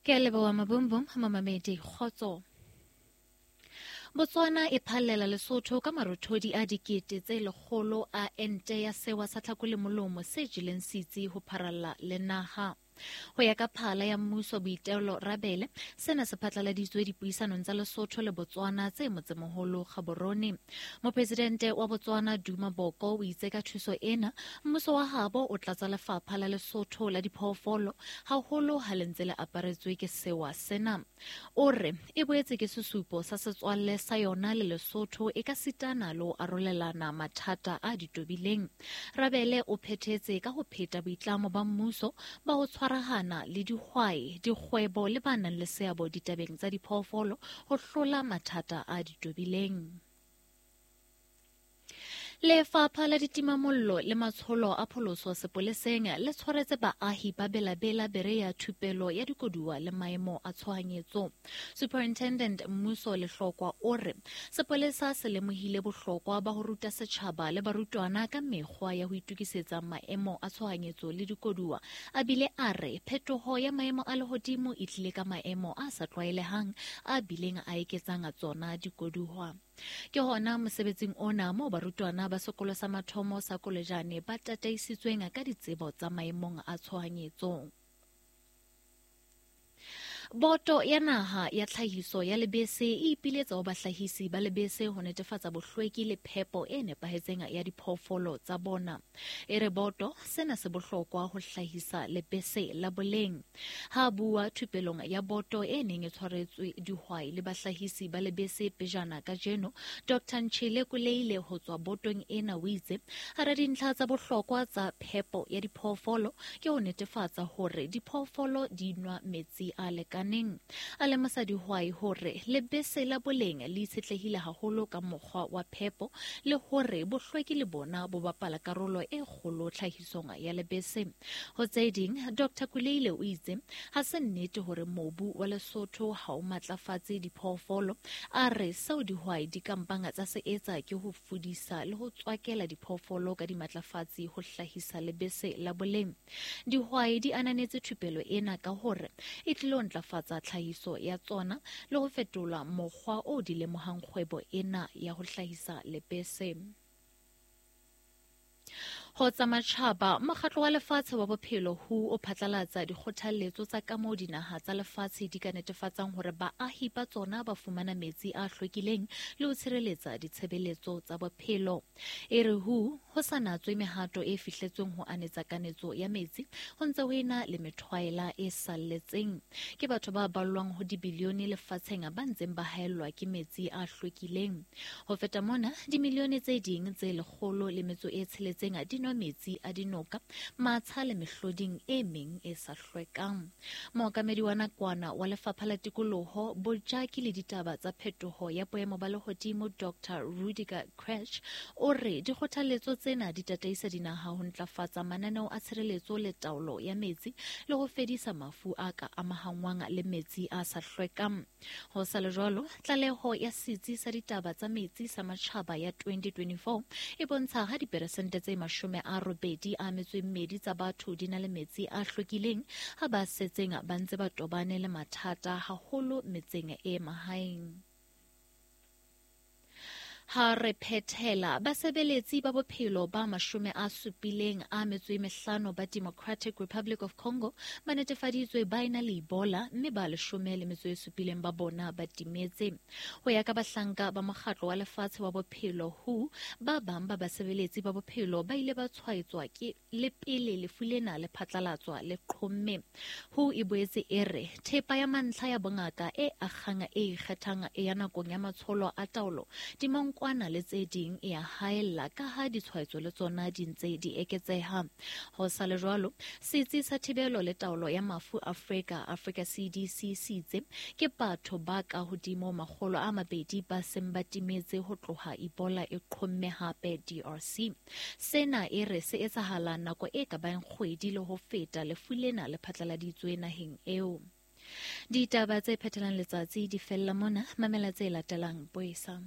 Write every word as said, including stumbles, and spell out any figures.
Ke a leboha Mabumbum, mamamedi kgotso. Botswana e phallela Lesotho ka marothodi a dikete tse lekgolo a ente ya sewa sa tlhako le molomo se jeleng setsi ho pharalla le naha. Ho ya ka phala ya mmuso Boitelo Rabele, sena se phatlaladitswe dipuisanong tsa Lesotho le Botswana tse motsemoholo Gaborone. Mopresidente wa Botswana Duma Boko o itse ka thuso ena, mmuso wa habo o tlatsa lefapha la Lesotho la diphoofolo haholo ha le ntse le aparetswe ke sewa sena. O re e boetse ke sesupo sa setswalle sa yona le Lesotho e ka sitana le ho arolelana mathata a ditobileng. Rabele o phethetse ka ho pheta boitlamo ba mmuso ba ho tshwarahana le dihwai, dikgwebo le ba nang le seabo ditabeng tsa diphoofolo ho hlola mathata a ditobileng. Lefapha la ditimamollo le matsholo a pholoso sepoleseng le tshwaretse baahi ba Bela-Bela Berea thupelo ya dikoduwa le maemo a tshohanyetso. Superintendent Mmuso Lehlokwa o re sepolesa se lemohile bohlokwa ba ho ruta setjhaba le barutwana ka mekgwa ya ho itokisetsa maemo a tshohanyetso le dikoduwa. A bile a re phetoho ya maemo a lehodimo e tlile ka maemo a sa tlwaelehang a bileng a eketsang tsona dikoduwa. Ke hona mosebetsing ona moo barutwana ba sekolo sa mathomo sa Kolejane ba tataisitsweng ka ditsebo tsa maemong a tshohanyetso. Boto ya naha ya tlhahiso ya lebese e ipiletsa ho bahlahisi ba lebese ho netefatsa bohlweki le phepo e nepahetseng ya diphoofolo tsa bona. E re boto sena se bohlokwa ho hlahisa lebese la boleng. Ha bua thupelong ya boto e neng e tshwaretswe dihwai le bahlahisi ba lebese pejana kajeno, Doctor Nchile Kuleile ho tswa botong ena o itse hara dintlha tsa bohlokwa tsa phepo ya diphoofolo ke ho netefatsa hore diphoofolo di nwa metsi a lekaneng. A lemosa dihwai hore lebese la boleng le itshetlehile haholo ka mokgwa wa phepo le hore bohlweki le bona bo bapala karolo e kgolo tlhahisong ya lebese. Ho tse ding, Doctor Kuleile o itse ha se nnete hore mobu wa Lesotho ha o matlafatse diphoofolo. A re seo dihwai di kampang tsa se etsa ke ho fudisa le ho tswakela diphoofolo ka dimatlafatsi ho hlahisa lebese la boleng. Dihwai di ananetse thupelo ena ka hore e tlilo ntlafatsa tlhahiso ya tsona le ho fetola mokgwa o di lemohang kgwebo ena ya ho hlahisa lebese. Ho tsa matjhaba, mokgatlo wa lefatshe wa bophelo W H O o phatlalatsa dikgothalletso tsa kamoo dinaha tsa lefatshe di ka netefatsang hore baahi ba tsona ba fumana metsi a hlwekileng le ho tshireletsa ditshebeletso tsa bophelo. E re W H O ho sa natswe mehato e fihletsweng ho anetsa kanetso ya metsi, ho ntse ho ena le methwaela e salletseng. Ke batho ba ballwang ho dibilione lefatsheng ba ntseng ba haellwa ke metsi a hlwekileng. Ho feta mona, dimilione tse ding tse lekgolo le metso e tsheletseng di nwa metsi a dinoka, matsha le mehloding e meng e sa hlwekang. Mookamedi wa nakwana wa Lefapha la Tikoloho, Bojaki le Ditaba tsa Phetoho ya Boemo ba Lehodimo Doctor Rudiger Krech o re dikgothalletso tsena di tataisa dinaha ho ntlafatsa mananeo a tshireletso le taolo ya metsi le ho fedisa mafu a ka amahangwang le metsi a sa hlwekang. Ho sa le jwalo, tlaleho ya Setsi sa Ditaba tsa Metsi sa Matjhaba ya twenty twenty-four e bontsha ha diperesente tse mashome a robedi a metso e mmedi tsa batho di na le metsi a hlwekileng, ha ba setseng ba ntse ba tobane le mathata haholo metseng e mahaeng. Ha re phethela, basebeletsi ba bophelo ba mashome a supileng a metso e mehlano ba Democratic Republic of Congo ba netefaditswe ba ena le Ebola mme ba leshome le metso e supileng ba bona ba timetse. Ho ya ka bahlanka ba mokgatlo wa lefatshe wa bophelo W H O, ba bang ba basebeletsi ba bophelo ba ile ba tshwaetswa ke le pele lefu lena le phatlalatswa le qhomme. W H O e boetse e re thepa ya mantlha ya bongaka e akgang e ikgethang ya nakong ya matsholo a taolo dimankwana le tse ding e a haella ka ha ditshwaetso le tsona di ntse di eketseha. Ho sa le jwalo, Setsi sa Thibelo le Taolo ya Mafu Afrika, Africa C D C, se itse ke batho ba ka hodimo makgolo a mabedi ba seng ba timetse ho tloha Ebola e qhomme hape D R C. Sena e re se etsahala nako e ka bang kgwedi le ho feta lefu lena le phatlaladitswe naheng eo. Ditaba tse phethelang letsatsi di fella mona, mamela tse latelang boesa.